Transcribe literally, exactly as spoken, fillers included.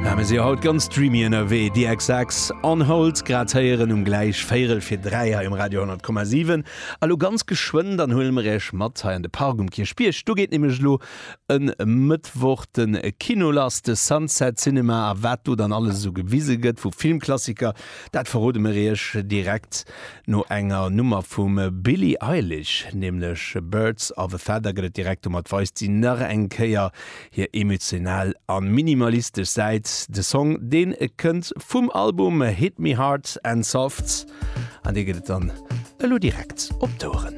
Ja, mir si haut ganz dreamy ënnerwee. The X X On Hold grad héieren um gläich véierel fir dräi hei um Radio honnert Komma siwen. Elo ganz geschwënn dann huele mer iech mat hei an de Park um Kierchbierg. Do geet nämlech elo e Mëttwoch de Kino lass, de Sunset Cinema, a wat do dann alles sou gewise gëtt vu Filmklassiker, dat verrode mer iech direkt no enger Nummer vum Billie Eilish, nämlech Birds of a Feather gëtt et direkt. Domat weist si nach eng Kéier hir emotional a minimalistesch Säit. De Song, deen kënnt vum Album Hit Me Hard and Soft, an dee gëtt et dann elo direkt op d'Oueren.